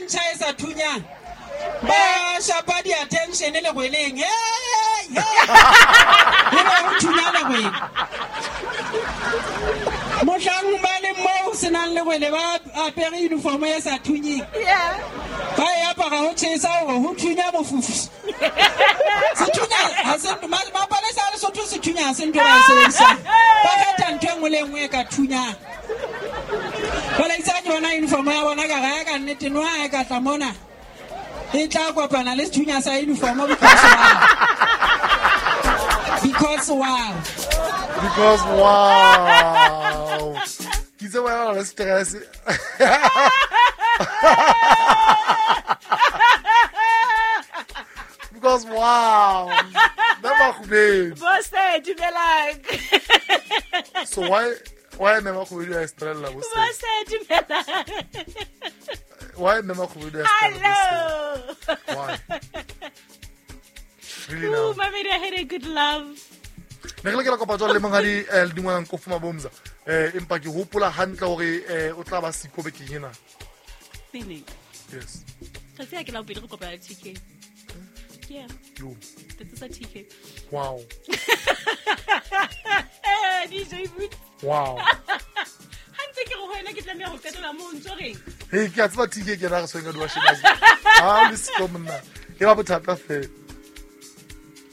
ntšha e sa thunyang ba shapa di-attention legweleng. Hey, hey. E be go thunya legwele mohlang ba le moo senang legwele ba apere uniform e sa thunyeng, ba e apara go chesa gore go thunya mofufu. Sethunya ha se mapalesa a Lesotho, sethunya ha se ntho ba e sebedisang, ba kgetha ntho e nngwe le e nngwe e ka thunyang. Jwale itse ha ke bona uniform ya bona ka raya ka nnete no ha e ka tla mona e tla kopana le sethunya sa uniform because wow. Because wow. Because wow. Ke itse wena o na le stress. Because wow. Nna Makgubedu. Bose, dumelang. So why mme Makgubedu a estrella bo se? Bose, dumelang. Why mme Makgubedu a estrella bo se? Hello. Why? Really now? Ooh, Mamedi, I had a good love. Ne re lokela kopa jwalo le monghadi Ledingwanang Kofu Mabomza. Empa ke hopola hantle hore o tla ba siko bekeng ena. Neng? Yes. Tsatsi ha ke la bobedi re kopana le TK. Yeah. Yo. Tsatsi sa TK. Wow. DJ Boot. Wow. Ha ntse ke re ho wena ke tlameha ho qetela moo o ntso reng? Hey, ke a tseba TK ke yena a re tshwereng ka diwasheng. Ha o le siko monna. E ba bothata fela.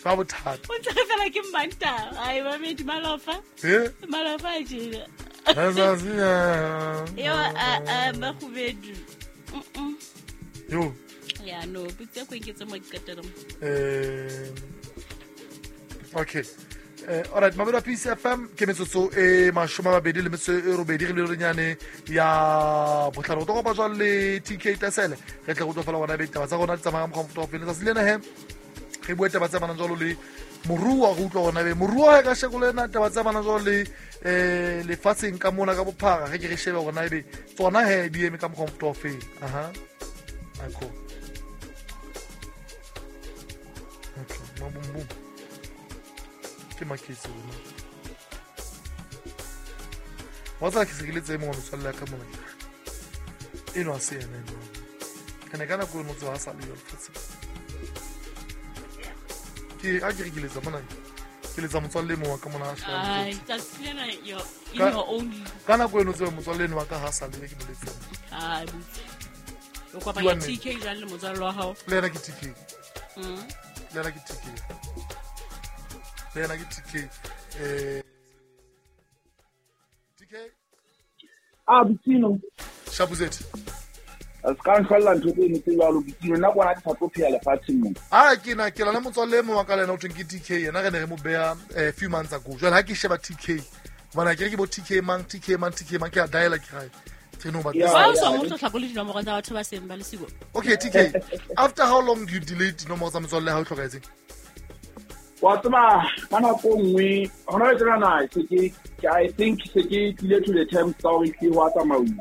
Ba bothata. O ntse re fela ke Manta. Ai, Mamedi, malofa. Eh? Malofa a tjena. Letsatsi, Yo, Makgubedu. Mm-mm. Yo. Yeah, no, botse ko nketse mo qetelong. Okay. All right, Mamedi wa Peace FM ke metsotso e 28 re le renyane ya botlhano. O tlo kopa jwalo le TK Tasele. Re tle go utlwa fela gona ebe ditaba tsa rona di tsamaya ka mokgwa o mofuta o feng. Letsatsi lena he re bue taba tse amanang jwalo le moruo, re utlwa gona ebe moruo ha e ka sheko le ena taba tse amanang jwalo le lefatsheng ka mona ka bophara, re ke re shebe gona ebe tsona he di eme ka mokgwa o mofuta o feng. Aha. Ako. Okay, mabum bum. Ke maketse rona. Wa tseba ke se ke le tse mongwe motswalle ya ka mona. Eno ha se yena eno. Ene ka nako eno tseba ha sa le yo lefatsheng. Ke a ke re ke letsa mona. Ke letsa motswalle e mongwe wa ka mona a shebang Ai, ditsotsi. tsatsi lena in your own. Ka nako eno tseba motswalle eno wa ka ha sa le ke mo letsa. Ai, botse. O kopanya Ke wa nnete. TK jwang le motswalle wa hao? Le yena ke TK. Le yena ke TK. Le yena ke TK. TK? Ah, Botsino. Shapuzet. A se ka nhlwella ntho tse ntse jwalo, Botsino. Nna kwana ke sa tlo phela lefatsheng mona. Ah, ke na ke lana motswalle e mong wa ka le yena o thweng ke TK. Yena re ne re mo beha few months ago. Jwale ha ke sheba TK, hobane ha ke re ke bo TK mang, TK mang, TK mang, ke a diala ke rae. Ke no ba Yeah, Wa o yeah. so mo hlakole dinomoro tsa batho ba seng ba le siko. Okay, TK. After how long do you delete dinomoro tsa motswalle ha o hlokahetseng? Wa tseba ka nako e nngwe hona le tsena na se ke I think se ke tlile to the terms tsa hore ke wa tsamauwa.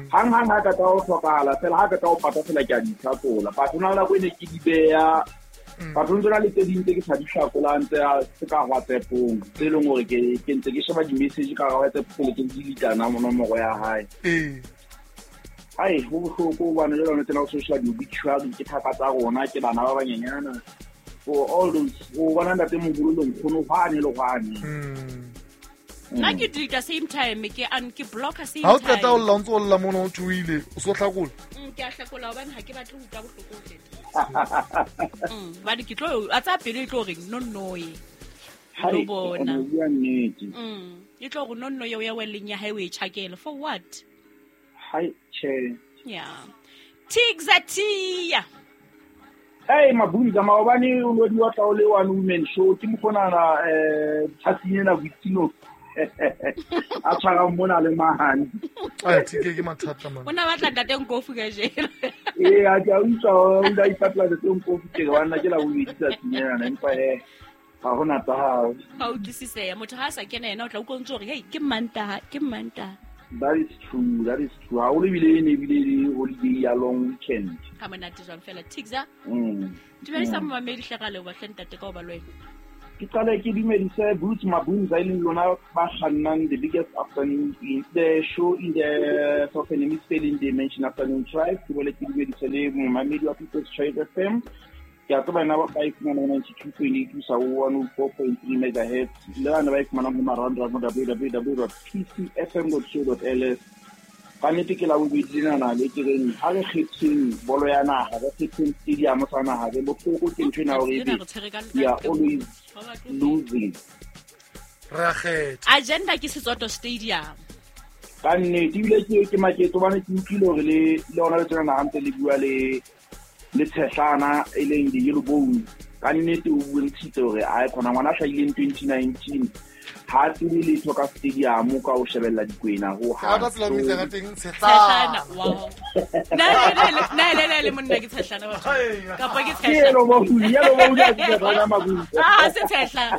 Hang hang ha ka tla ho hlokahala fela ha ka tla ho pata fela ke a di hlakola. But hona le nako e ne ke di beha. But ho ntse na le tse ding tse ke sa di hlakolang tse tse ka WhatsApp-ong, tse leng hore ke ntse ke sheba di-message ka hara WhatsApp pele ke delete nomoro ya hae. Ai, ho bohloko hobane jwale hona tsena ho social di-obituary ke thaka tsa rona, ke bana ba banyenyana. For all those, o bona ntate moholo le nkgono hwane le hwane. Nna ke delete same time, ke an ke blocker same Ha o qeta ho time. lla, o ntso o lla mona o tsohile, o so hlakola. Ke a hlakola hobane ha ke batle ho utlwa bohloko ho feta. Hobane ke tlo a tsa pelo e tlo reng no no ye. Hai, Lo bona. o bua nnete. E tlo re no no ye o ya welleng ya hae o e tjhakele for what? Hai, tjhe. Yeah. Tigzatia. Hey, Mabunza, maobane o no di wa tla o le one woman show ke mokgonana tsatsing ena Boitsino. A tshwara mona le mahane. Ai, TK ke mathata man. O na batla ntate Nkofu ka jeno. Ee, a ke a utlwa o ile a ipatla ntate Nkofu ke re banna ke la bobedi tsatsing ena, empa he ha hona tsa hao. Ha o utlwisiseya, motho ha a sa kena yena o tla utlwa o ntse o re, hey, ke Mantaha, ke Mantaha. That is true, that is true. Ha o le bile e ne ebile le holiday ya long weekend. Ha monate jwang fela. Tigza. Dumedisa momamedi hle ra leboha hle ntate ka ho ba le wena. Ke qale ke dumedise Boots Mabunza e leng lona ba kgannang the biggest afternoon in the show in the Southern Hemisphere in the Mention Afternoon Drive. Ke bole ke dumedise le momamedi wa People's Choice FM. Ke a tseba ena ba e fumanang 92.8 sa 104.3 megahertz. Le bana ba e fumanang ho marangrang www.pcfm.co.ls. Ka nnete ke la bobedi lenana le ke reng ha re kgetheng bolo ya naha, re kgetheng stadium sa naha, re bohloko ke ntho ena hore ebe we are always losing. Re a kgetha. Agenda ke Setsoto Stadium. Ka nnete ebile ke makete hobane ke utlwile hore le lona le tsena naha ntse le bua le Tshehlana e leng di-yellow bone. Ka nnete o bontshitse hore ae khona ngwana a hlahileng 2019 ha tsebe letho ka stadium ka o shebella dikwena ho ha. Ka tsela mmitsa ka teng Tshehlana. Wow. Na le monna ke Tshehlana batho. Kapa ke Tshehlana. Yellow bone, yellow bone ya Tshehlana Mabunza. Ah, se Tshehlana.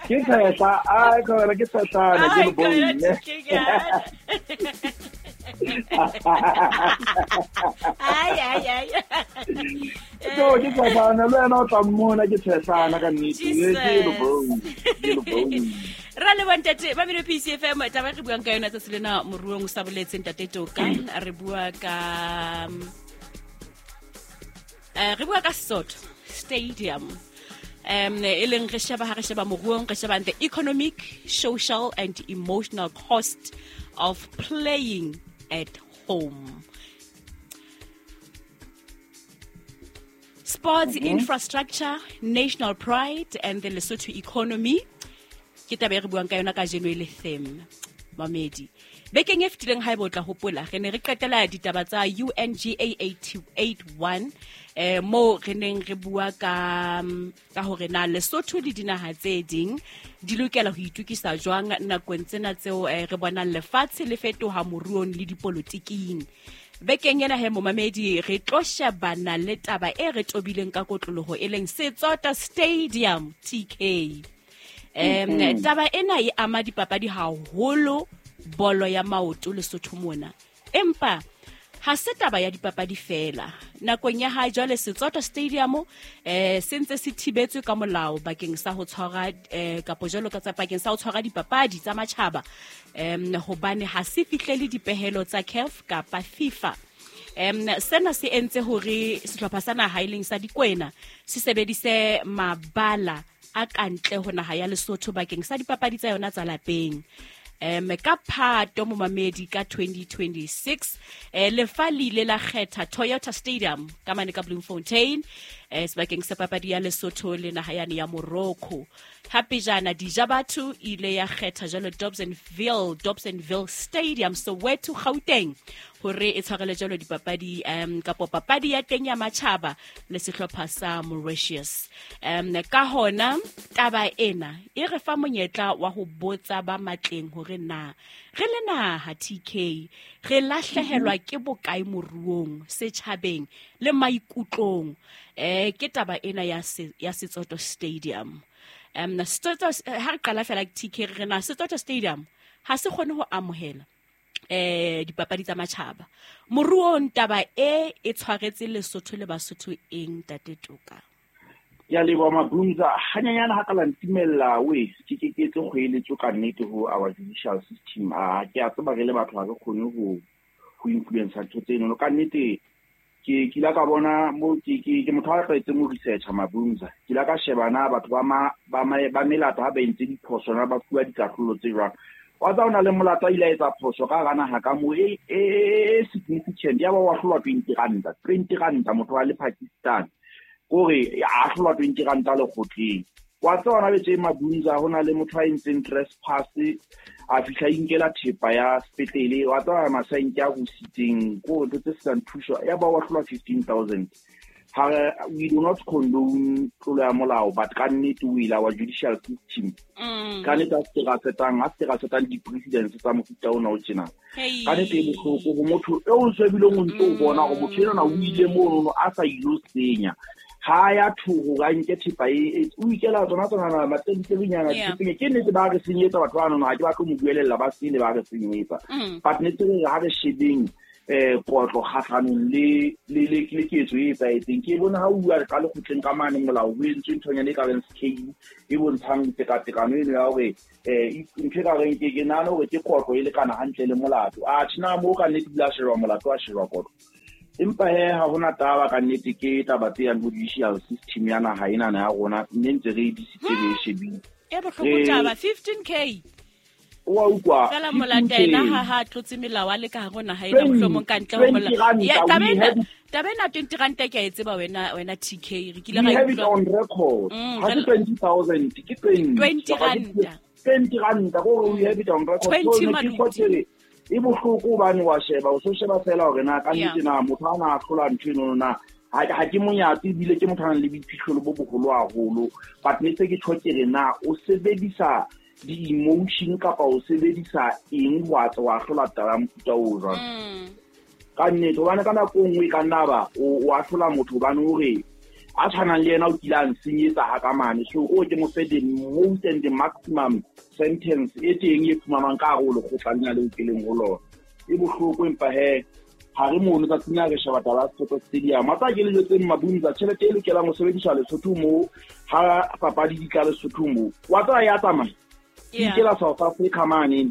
Ke Tshehlana, ai khona ke Tshehlana yellow bone. Ai ai ai. So ke Tshehlana le wena o tla mmona ke Tshehlana ka nnete. Yellow bone, yellow bone. Ra le bontate ba mino PCFM taba re buang ka yona tsatsi lena moruong o sa boletse ntate Toka. Re bua ka Setsoto Stadium. E leng re sheba ha re sheba moruong, re sheba the economic, social and emotional cost of playing at home. Sports infrastructure, national pride and the Lesotho economy. Ke taba e re buang ka yona kajeno e le theme. Mamedi. Bekeng e fetileng ha e botla hopola re ne re qetela ditaba tsa UNGA 881 mo re neng re bua ka hore na Lesotho le dinaha tse ding di lokela ho itukisa jwang nakong tsena tseo re bonang lefatshe le fetoha moruong le dipolotiking. Bekeng ena he momamedi re tlo shebana le taba e re tobileng ka kotloloho e leng Setsoto Stadium TK. Taba ena e ama dipapadi haholo bolo ya maoto Lesotho mona. Empa ha se taba ya dipapadi fela. Nakong ya ha jwale Setsoto Stadium se ntse se thibetswe ka molao bakeng sa ho tshwara kapo jwalo ka tsa bakeng sa ho tshwara dipapadi tsa matjhaba hobane ha se fihlele dipehelo tsa CAF kapa FIFA. Sena se entse hore sehlopha sa naha e leng sa Dikwena se sebedise mabala a kantle ho naha ya Lesotho bakeng sa dipapadi tsa yona tsa lapeng. Ka Phato momamedi ka 2026 lefa le ile la kgetha Toyota Stadium ka mane ka Bloemfontein sebakeng sa papadi ya Lesotho le naha yane ya Morocco. Hape jana Dijabatho ile ya kgetha jalo Dobsonville Stadium Soweto Gauteng hore e tshwarele jalo dipapadi kapo papadi ya teng ya matjhaba le sehlopha sa Mauritius. Ka hona taba ena e re fa monyetla wa ho botsa ba matleng hore na re le naha TK re lahlehelwa ke bokae moruong setjhabeng le maikutlong. Ke taba ena ya Setsoto Stadium. Setsoto ha re qala fela TK re na Setsoto Stadium ha se kgone ho amohela dipapadi tsa matjhaba. Moruong taba e tshwaretse Lesotho le Basotho eng ntate Toka? Ya leboha Mabunza, hanyanyana ha ka la ntumella we ke ke tlo kgoeletso ka nnete ho our judicial system. A ke a tseba re le batho ha re kgone ho influence ntho tseno. Ka nnete ke kila ka bona mo ke motho a tlwaetseng ho research Mabunza. Ke la ka sheba na batho ba melato ha ba entse diphoso na ba fuwa dikahlolo tse jwang. Wa tsa ona le molato a ile a etsa phoso ka hara naha ka mo e significant ya ba wa hlolwa 20 ranta 20 ranta motho wa le Pakistan kore a hlolwa 20 ranta lekgotleng. Wa tsa ona betse Mabunza hona le motho a entseng trespass a fihla inkela thepa ya sepetlele wa tsa masanke a rusitseng ko ntho tse senang thuso ya ba wa hlolwa 15,000. Ha we do not condone tlolo ya molao but ka nnete o ile wa judicial system ka nnete a se ra setang di-precedents tsa mofuta ona o tjena. Ka nnete e bohloko ho motho eo o shebileng o ntso o bona hore motho enwana o ile monono a sa ilo senya. Ha ya thoho ka nke thepa e o ikela tsona matselitselinyana dithepeng. Ke nnete ba re senyetsa batho ba nono ha ke batle mo buelella ba sele ba re senyetsa. But nnete re ha re shebeng kotlo kgahlanong le ketso e etsahetseng. Ke bone ha o bua ka lekgotleng ka mane molao ho entswe nthonyana e ka reng scale e bontshang tekatekano eno ya hore ntho e ka reng ke nahana hore ke kotlo e lekana hantle le molato. Atjhe na moo ka nnete ebile a shejwa molato, a shejwa kotlo. Empa he ha hona taba ka nnete, ke taba tse yang ho judicial system ya naha enana ya rona, mme ntse re e disitse re e shebile. E bohloko taba, 15K. Wa utlwa. Fela molata ena ha tlotse melao a le ka hare ho naha ena, mohlomong ka ntle ho molao. Ya taba ena 20 ranta ke a e tseba wena TK, re kile ra e utlwa on record. Ha se 20,000 ke 20 ranta. 20 ranta go we have it on record. 20 so e bohloko hobane wa sheba, o so sheba fela hore na ka nnete na motho a na hlola ntho eno na ha ke monyatsi ebile ke motho a nang le boiphihlelo bo boholo haholo, but ne se ke tjho ke re na o sebedisa di-emotion kapa o sebedisa eng wa hlola taba ya mofuta o jwalo. Ka nnete hobane ka nako e nngwe e ka nna ba o ahlola motho hobane hore a tshwanang le yena o kile a nsenyetsa ha ka mane, so o ke mo fe the most and the maximum sentence e teng e fumanwang ka hare ho lekgotla lena leo ke leng ho lona. E bohloko empa he ha re mono tsatsing la re sheba taba ya Soweto Stadium. A tsa ke le jwetseng Mabunza, tjhelete e lokelang ho sebediswa Lesotho moo ha papadi di tla Lesotho moo, wa tseba ya tsamaya ke la South Africa mane,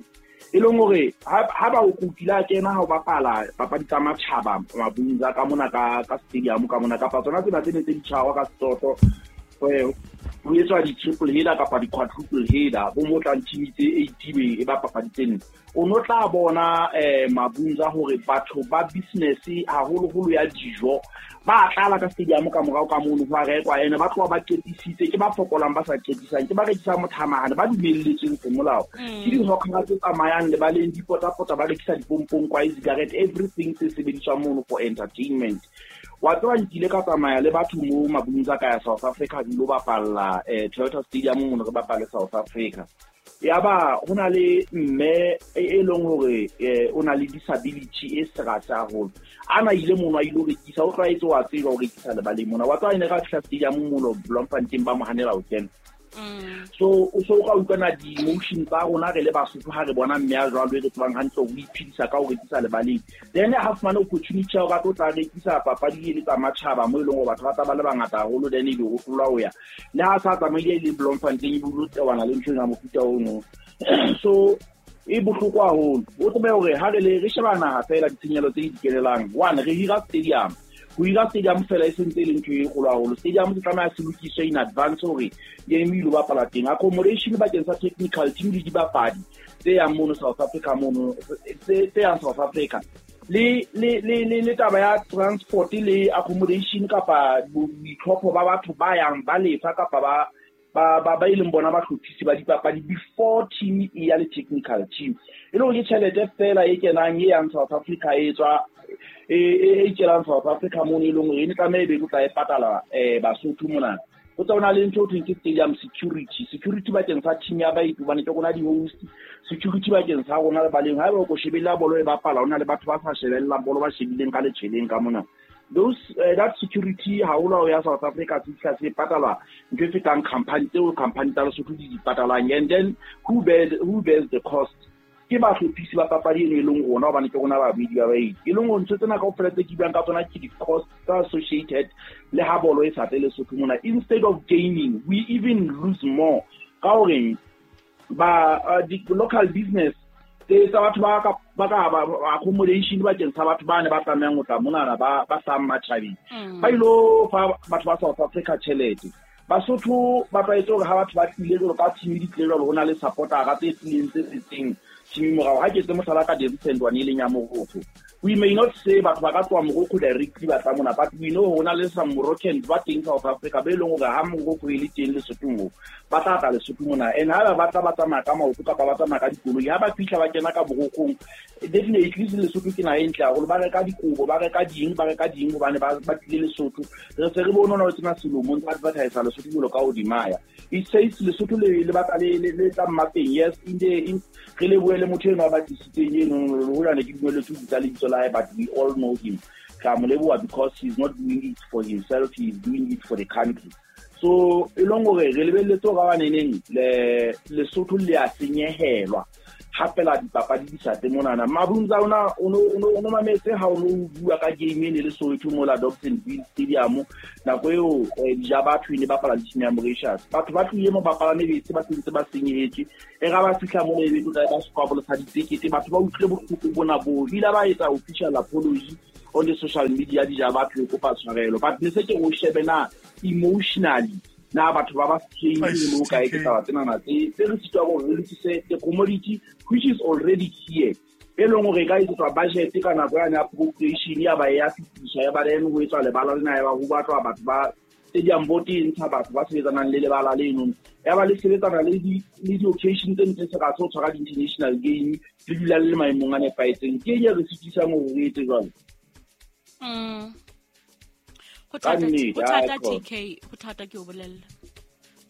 e leng hore ha ba o kutile a kena ha o bapala papadi tsa matjhaba Mabunza ka mona ka stadium ka mona, kapa tsona tsena tse ne tse di tshwarwa ka setoto, ho etswa di-triple header kapa di-quadruple header, bo mo tlang team tse 8 e ba papadi tse nne. O no tla bona Mabunza hore batho ba business haholoholo ya dijo ba tlala ka stadium ka morao ka mono ho a rekwa, ene ba tloha ba qetisitse, ke ba fokolang ba sa qetisang, ke ba rekisang mothamahane ba dumelletsweng semolao, ke di-hawkera tse tsamayang lebaleng di potapota ba rekisa dipompong, kwae, cigarette, everything se sebediswang mono for entertainment. Wa tseba nkile ka tsamaya le batho mo Mabunza ka ya South Africa di lo bapalla Toyota Stadium mono re bapale South Africa. Ya ba ho na le mme e leng hore o na le disability e serase haholo, ana ile mono a ile ho rekisa, o tlwaetse wa tseba ho rekisa lebaleng mona. Wa tseba ene ka fihla stadium mono Bloemfontein ba mo hanela ho kena. So o ka utlwana di-emotion tsa rona re le Basotho ha re bona mme a jwalo e re tsebang hantle ho iphedisa ka ho rekisa lebaleng, then ha fumane opportunity ya hore a tlo tla rekisa papadi e le tsa matjhaba mo e leng hore batho ba tla ba le bangata haholo, then ebe o hlolwa ho ya le ha sa tsamaile le Bloemfontein e bile o tewana le ntho ena mofuta ono. So e bohloko haholo. O tsebe hore ha re le re sheba naha fela ditshenyehelo tse di kelelang, one re hira stadium, ho hira stadium fela e sentse e le ntho e kgolo haholo. Stadium se tlameha se lokiswe in advance hore game e ilo bapala teng. Accommodation bakeng sa technical team le dibapadi tse yang mono South Africa mono, tse yang South Africa, le taba ya transport le accommodation kapa boitlhopho ba batho ba yang ba lefa kapa ba e leng bona bahlophisi ba dipapadi before team e ya le technical team, e le hore ke tjhelete fela e kenang e yang South Africa e tswa e kelang South Africa mono, e leng hore e ne tlameha e be tla e patala Basotho mona. Ho tsa hona le ntho ho thweng ke stadium security, security bakeng sa team ya baeti hobane ke rona di-host, security bakeng sa rona lebaleng. Haeba o ko shebella bolo e bapala, hona le batho ba sa shebellang bolo ba shebileng ka letshweleng ka mona. Those that security haholo ya South Africa se fihla se patalwa ntho e fetang company tseo company tsa Lesotho di di patalang. And then who bears the cost? Ke bahlophisi ba papadi eno e leng rona, hobane ke rona babedi ba baeti. E leng hore ntho tsena kaofela tse ke buang ka tsona ke di-cost tse associated le ha bolo e sa tle Lesotho mona. Instead of gaining, we even lose more. Ka hore ba local business tsa batho ba ka accommodation bakeng sa batho ba ne ba tlamehang ho tla monana ba hlahang matjhabeng, ba ilo fa batho ba South Africa tjhelete. Basotho ba tlwaetse hore ha batho ba tlile jwalo ka team di tlile jwalo, ho na le supportera tse tlileng tse setseng team morao. Ha ke etse mohlala ka the recent one e leng ya Morocco, we may not say batho ba ka tloha Morocco directly ba tla mona, but we know ho na le some Moroccans ba teng South Africa be leng hore ha Morocco e le teng Lesotho moo, ba tla tla Lesotho mona. And ha ba tla ba tsamaya ka maoto kapa ba tsamaya ka dikoloi, ha ba fihla ba kena ka Moroccong, definitely Lesotho ke naha e ntle haholo, ba reka dikobo, ba reka ding, ba reka ding hobane ba tlile Lesotho. Re se re bone hona ho tsena selomong tsa advertise Lesotho jwalo ka hodimaya. It says Lesotho le batla le tla mmapeng. Yes, in the re lebohe le motho eno a ba tlisitseng eno, hojane ke dumelletswe ho bitsa lebitso la hae, but we all know him. Re a mo leboha because he's not doing it for himself, he is doing it for the country. So e leng hore re lebelletse hore ba neneng Lesotho le a senyehelwa. Hapela dipapadi di sa tle monana. Mabunza ona o no mametse ha o no bua ka game ene le Soweto mola Dobsonville Stadium nako eo dija batho ne bapala le team ya Mauritius. Batho ba tlohile mo bapalame bese ba sentse ba senyehetse. E ga ba fihla mo ebe tla ba squabble sa ditekete batho ba utlwile bohloko bona bo. Ile ba etsa official apology on the social media dija batho e kopa tshwarelo. But ne se ke o shebe na emotionally na batho ba ba strain mo kae ke taba tsena tse re sitwa gore re lokise the commodity which is already here e leng gore ka etswa budget ka nako ya appropriation ya ba ya fitisha ya ba then ho etswa lebala lena ya ba ho batlwa batho ba stadium board e ntsha batho ba sebetsanang le lebala leno ya ba le sebetsana le di occasion tse ntse se ka tso tshwara di international game le dula le maemong a nepahetseng ke eng re sitisang hore re etse jwalo. Go thata TK, go thata ke o bolella.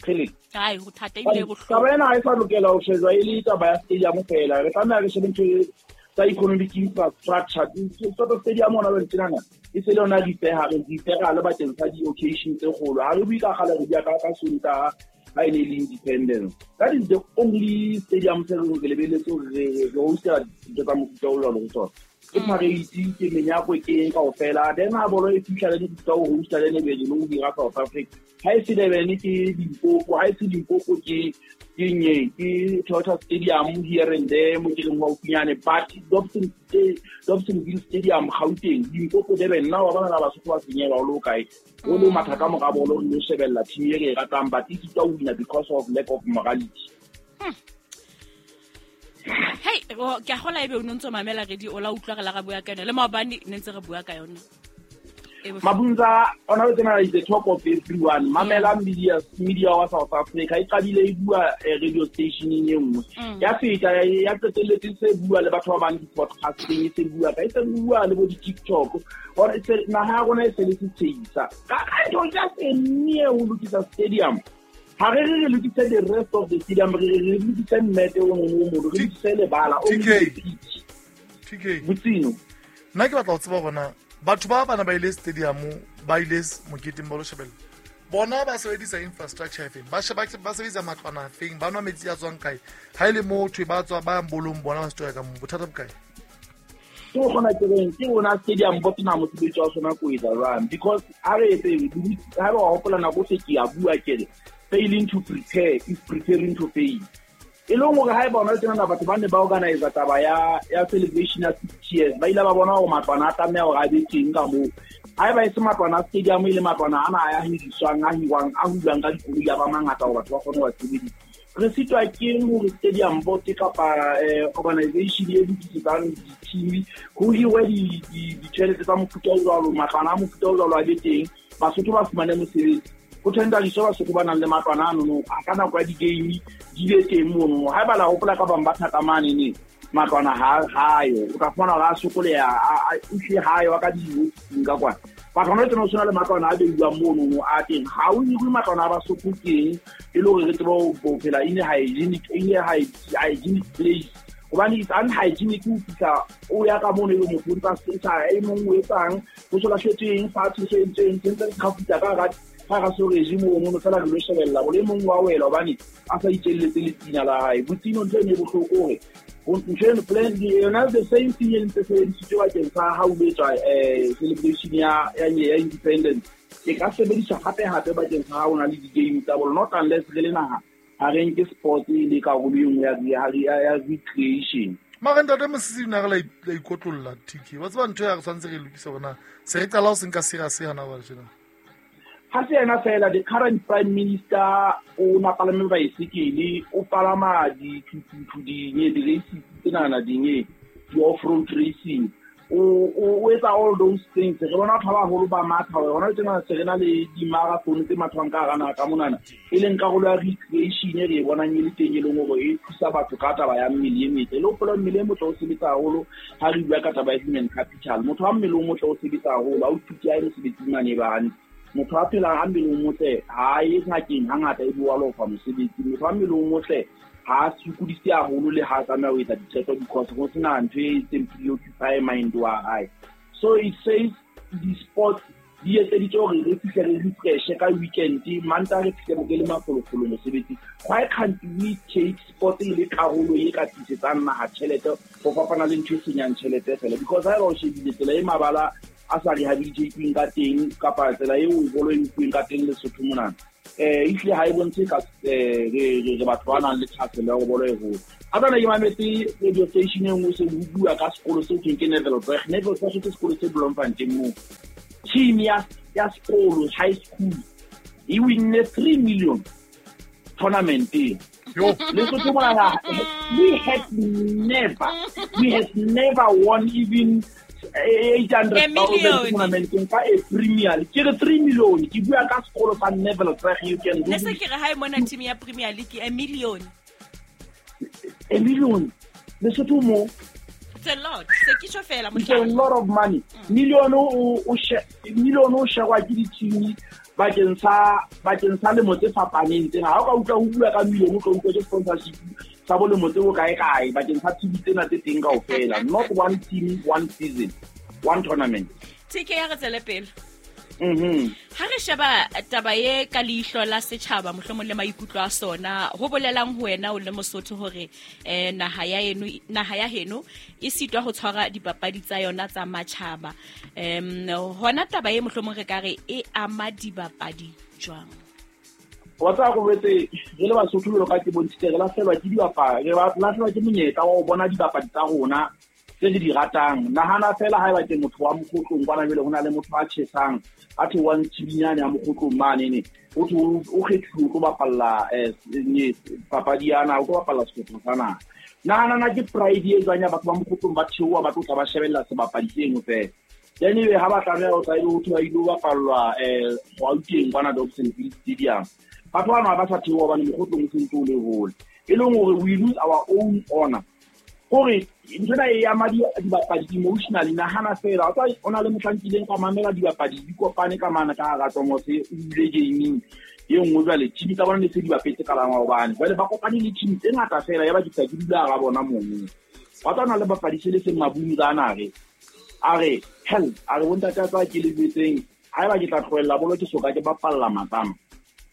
Really? Ai, go thata ebile bohloko. Taba ena ha e sa lokela ho shejwa e le taba ya stadium fela. Re tlameha re shebe ntho tsa economic infrastructure. Sort of stadium ona ba tsenana. E se le yona dipeha re dipeha le bakeng sa di-occasion tse kgolo. Ha re bue ka kgale re bua ka Sontaha ha e ne le independence. That is the only stadium se re lebeletse hore re hostela dintho tsa mofuta o jwalo ho tsona. Ke parade ke menyako ke eng kaofela then ha bolo e fihla le dintho ho hosta le lebedi le ho dira South Africa ha e se Durban ke Limpopo ha e se Limpopo ke nye ke Toyota Stadium here and there mo ke reng haufinyane but Dobsonville Stadium Gauteng Limpopo Durban nna wa bona ba Basotho ba senyelwa o le kae o le matha ka mora bolo o shebella team e re ratang but e sitwa ho wina because of lack of morality. Hey, ke a gola ebe o ntse mamela radio o la utlwa re la ga bua ka yona le maobane ne ntse re bua ka yona. Mabunza ona o tsena is the talk of everyone. Mamela media wa South Africa e qadile e bua radio station e nngwe. Ya feta ya qetelletse se bua le batho ba bang di-podcasting e se bua ka e se bua le bo di-TikTok. Or se naha ya rona e se le setshehisa. Ka ntho ya se nne ho lokisa stadium. Ha re re lokise the rest of the stadium re re lokise mmete o mongwe o molo re lokise lebala o TK Botsino. Nna ke batla ho tseba hore batho ba bana ba ile stadium ba ile moketeng ba lo shebella bona ba sebedisa infrastructure efeng ba sheba ba sebedisa matlwana afeng ba nwa metsi a tswang kae ha ile motho ba tswa ba bolong bona ba setoya ka mo bothata bo kae ke gona ke reng ke ona stadium bo tsena mosebetsi wa sona ko etsa jwang because ha re etse ha ba hopola nako se ke a bua ke re failing to prepare is preparing to fail. E leng hore ha e bona tsena batho ba ne ba organize taba ya celebration ya 60 years ba ile ba bona hore matlwana a tlameha hore a be teng ka moo. Ha eba e se matlwana a stadium e le matlwana ana a ya hiriswang a hiwang a hulwang ka dikoloi a ba mangata hore batho ba kgone ho sebedisa. Re sitwa ke hore stadium board kapa organization e lokisetsang di-team ho hirwe ditjhelete tsa mofuta o jwalo matlwana a mofuta o jwalo a be teng Basotho ba fumane mosebetsi. Ho thendaliswa Basotho ba nang le matlwana ano a ka nako ya di-game di be teng mono. Ha eba la hopola ka bang ba thata mane ne matlwana ha ayo o ka fumana hore a sokoleha a utlwe ha ayo ka di-ofising ka kwana. Batho hona tsena o tshwana le matlwana a beiwang mono a teng ha o hirwe matlwana a Basotho teng e le hore re tsebe ho phela in a hygienic place hobane it's unhygienic ho fihla o ya ka mono e le motho o ntsa sa e mong o etsang ho so lahletsweng fatshe so entseng sentse re kgafuta ka hara ga so regime o mono fela re lo shebella bole mong wa wela hobane a sa itjelletse le tsina la hae. Botsino ntho ene e bohloko hore ntho eno plan yona the same thing e ntse sebedisitswe bakeng sa ha o etswa celebration ya independence e ka sebediswa hape hape bakeng sa ha o na le di-game tsa bolo not unless re le naha ha re nke sport e le karolo e nngwe ya recreation. Mara ntate Mosisi na re la ikotlolla TK wa tseba ntho ya re tshwanetse re lokise bona se re qala ho se nka serious hana ba tjena. Ha se yena fela the current prime minister o na palame baesekele o palama dithuthuthu dinye di-races tsenana dinye di-off-road racing o etsa all those things. Re bona batho ba baholo ba matha hona tsena se re na le di-marathon tse mathwang ka hara naha ka monana e leng karolo ya recreation e re e bonang e le teng e leng hore e thusa batho ka taba ya mmele e metle. Le hopola mmele e motle o sebetsa haholo ha re bua ka taba ya human capital. Motho wa mmele o motle o sebetsa haholo ha o thuti a ye mosebetsing mane ba hantle. Motho a phelang a mmele o motle ha ye ngakeng hangata e bua lofa mosebetsi. Motho wa mmele o motle ha sokodise haholo le ha tlameha ho etsa diqeto because ho sena ntho e itseng preoccupy mind wa hae. So it says the sports Di etseditse hore re fihle re refreshe ka weekend, Mantaha re fihle re le mafolofolo mosebetsing. Why can't we take sport e le karolo e ka tlisetsang naha tjhelete ho fapana le ntho e senyang tjhelete fela? Because ha eba o shebile tsela e mabala a sa rehabilitateweng ka teng, kapa tsela eo bolo e nkuweng ka teng Lesotho monana, ehlile ha e bontshe ka re batho ba nang le thahasello ya hore bolo e hole. A tsana ke mametse radio station e nngwe, se ho bua ka sekolo seo thweng ke Neville Bragg. Neville Bragg ke sekolo se Bloemfontein moo. Team ya sekolo high school e winne 3 million tournament e. Lesotho monana, we have never won even 800,000 tournament ka e Premier League. Ke re 3 million, ke bua ka sekolo sa Neville Bragg, you can Ne se ke re ha e mona team ya Premier League a million. A million. Lesotho mo. It's a lot. Se ke tjho fela It's a lot of money. Million o million o shegwa ke di-team bakeng sa lemo tse fapaneng tsena. Ha o ka utlwa ho bua ka million, o tlo utlwa ke sponsorship sa bo lemo tse bokae kae bakeng sa team tsena tse teng kaofela. Not one team, one season, one tournament. TK ya re tswele pele. Ha re sheba taba e ka leihlo la setjhaba, mohlomong le maikutlo a sona, ho bolelang ho wena o le Mosotho hore naha ya heno e sitwa ho tshwara dipapadi tsa yona tsa matjhaba. Hona taba e mohlomong re ka re e ama dibapadi jwang? Wa tseba go betse re le Basotho jwalo ka ke bontshitse, re lahlehelwa ke dibapadi, re lahlehelwa ke monyetla wa ho bona dibapadi tsa rona tse re di ratang. Nahana fela haeba ke motho wa Mokgotlong kwana jwale, ho na le motho a tjhesang, a theohang Tshibinyane ya Mokgotlong mane, o thwe o kgethuwe o tlo bapalla papadi ya naha, o tlo bapalla sehlopha sa naha. Nahana na ke pride e jwang ya batho ba Mokgotlong ba theoha ba tlo tla ba shebella sebapadi seno fela. Then ebe ha ba tlameha ho tla ebe ho thwe ba ilo bapallwa Gauteng kwana Dobsonville Stadium. Batho bana ba sa theoha hobane Mokgotlong o sentse o le hole. E leng hore we lose our own honor. Hore ntho ena e ama dibapadi emotionally. Nahana fela, o tsa o na le mohlang kileng ka mamela dibapadi di kopane ka mane ka hara Tomose, o bule gaming e nngwe jwale team tsa bona ne se di bapetse ka la maobane. Jwale ba kopane le team tse ngata fela, ya ba ke tla ke dula hara bona mono. Wa tsa na le bapadi se le seng Mabunza ana re. A re, hell, a re bontate a tsa ke le jwetseng, haeba ke tla tlohella bolo ke soka ke bapalla Matlama.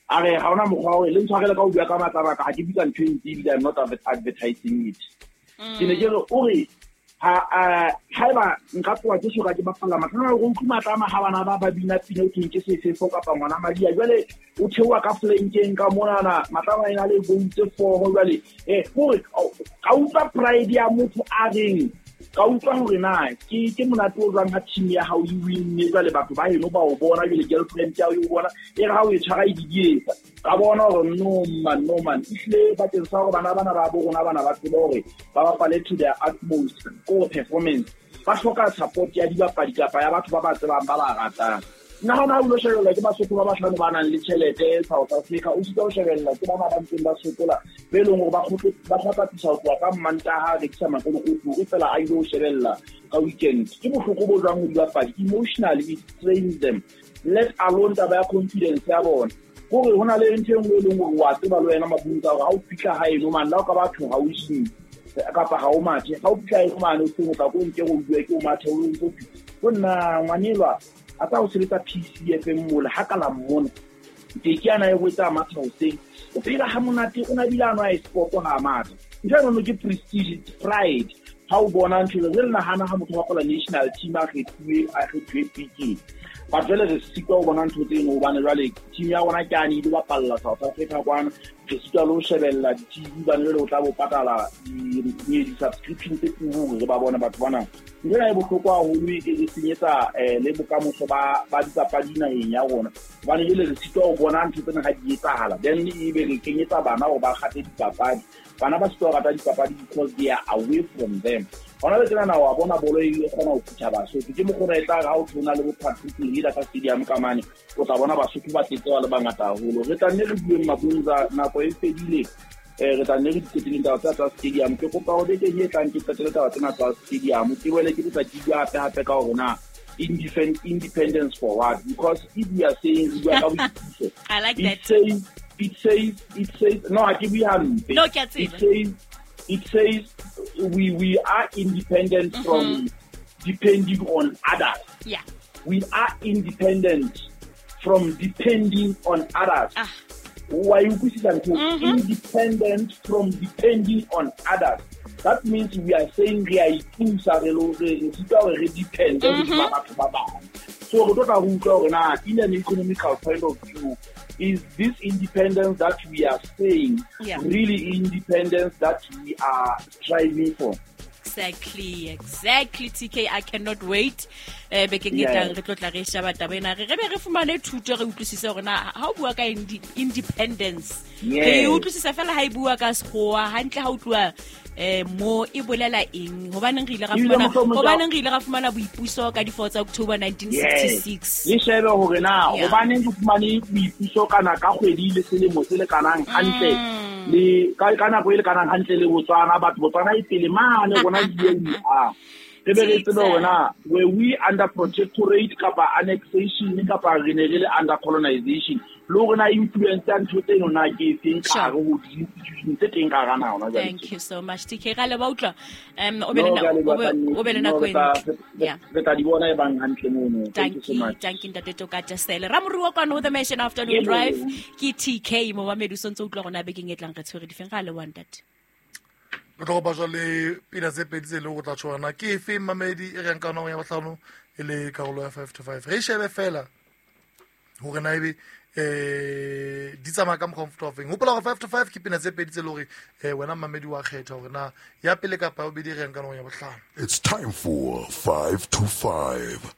A re ha hona mokgwa wa hore le ntshwarele ka ho bua ka Matlama ka ha ke bitsa ntho e ntsi ebile I'm not advertising it. Ke ne ke re o re haeba nka tloha ke soka ke bapalla Matlama, o utlwe Matlama ha bana ba bina pina o thweng ke sefefo kapa ngwana Madia. Jwale o theoha ka flankeng ka monana, Matlama ena le goal tse 4 jwale. Hore ka utlwa pride ya motho a reng, ka utlwa hore na ke monate o jwang ha team ya hao e winne, jwale batho ba heno ba o bona, jwale girlfriend ya hao e o bona, e re ha o e tshwara e didietsa. Ka bona hore no man, no man. Ehlile bakeng sa hore bana bana ba bo rona bana ba tsebe hore ba bapale to their utmost ko performance, ba hloka support ya dibapadi kapa ya batho ba ba tsebang ba ba ratang. Nna hona ha o lo shebella ke Basotho ba bahlano ba nang le tjhelete South Africa, o sitwa ho shebella ke bana ba ntseng ba sokola, be leng hore ba kgutle, ba hlapatisa ho tloha ka Mantaha, a rekisa makolokoti hore fela a ilo shebella ka weekend. Ke bohloko bo jwang ho dibapadi, emotionally it strains them, let alone taba ya confidence ya bona. Hore ho na le ntho e nngwe e leng hore wa tseba le wena Mabunza hore ha o fihla haeno mane, le ha o ka batho ha o gym kapa ha o mathe, ha o fihla haeno mane o seng o tla ko nke o bue ke o mathe, o ntso fihla. Ho nna ngwanelwa a tsa ho sebetsa PCFM mole ha ka la mmona. Ke ke ana e wetsa matha hoseng. O phela ha monate, o na bile a nwa sport ha matha. Ntho eno ke prestige, it's pride. Ha o bona ntho eno, re nahana ha motho wa bapala national team a kgethuwe PK. But jwale re sitwa ho bona ntho tseno hobane jwale team ya rona ke ane e ilo bapalla South Africa kwana. Re sitwa le ho shebella di-T V hobane jwale o tla bo patala di-subscription tse turu hore re ba bone batho bana. Ntho ena e bohloko haholo, e senyetsa le bokamoso ba dipapadi naheng ya rona. Hobane jwale re sitwa ho bona ntho tsena ha di etsahala. Then ebe re kenyetsa bana hore ba kgate dipapadi. Bana ba sitwa ho rata dipapadi because they are away from them. Hona le tsena wa bona bolo e kgona ho phutha Basotho. Ke mokgwa o e tla re ha o tshwana le bo Patrick Lehila ka stadium ka mane, o tla bona Basotho ba tletse ba le bangata haholo. Re tla nne re bueng Mabunza, nako e fedile. Re tla nne re di qeteleng taba tsa stadium. Ke kopa hore bekeng e tlang ke qetele taba tsena tsa stadium. Ke boele ke tla ke bua hape hape ka hore na independence for what? Because if we are saying we are boipuso, I like that. It says, no, I give you hampe. No, ke a tseba. It says we are independent from depending on others. Yeah. We are independent from depending on others. Wa e utlwisisa ntho? Independent from depending on others. That means we are saying re a ipusa, re sitwa hore re depende hodima batho ba bang. So re tlo tla re utlwa hore na in an economical point of view, is this independence that we are saying really independence that we are striving for? Exactly, TK. I cannot wait. Bekeng e tlang re tlo tla re sheba taba ena, re be re fumane thuto, re utlwisise hore na ha o bua ka independence, re utlwisisa fela ha e bua ka sekgowa hantle, ha o tluwa mo e bolela eng, hobaneng re ile ra fumana boipuso ka di 4 tsa October 1966. Le shebe hore na hobaneng re fumane boipuso kana ka kgwedi le selemo se lekanang hantle le ka nako e lekanang hantle le Botswana, batho Botswana e pele mane rona di a re be re tsebe hore na were we under protectorate kapa annexation kapa re ne re le under colonization, le hore na influence ya ntho tseno na ke efeng ka hare ho di-institution tse teng ka hara naha hona jwale. Thank you so much, TK. Ra leboha utlwa. O be le nako e ntle. Re tla di bona e bang hantle mono. Thank you so much. Thank you, Ntate Toka Tesele. Ramoruwa kwano ho The Mansion Afternoon Drive ke TK momamedi, o sontse utlwa rona bekeng e tlang re tshwere difeng. Ra leboha ntate. Re tlo kopa jwale pina tse pedi tse leng go tla tshwana ke efe mamedi e reng ka nong ya bohlano e le karolo ya 5 to 5. Re shebe fela hore na ebe di tsamaya ka mokgwa o mofuta ofeng. Hopola hore 5 to 5 ke pina tse pedi tse leng hore wena mamedi wa kgetha hore na ya pele kapa ya bobedi e reng ka nong ya bohlano. It's time for 5 to 5.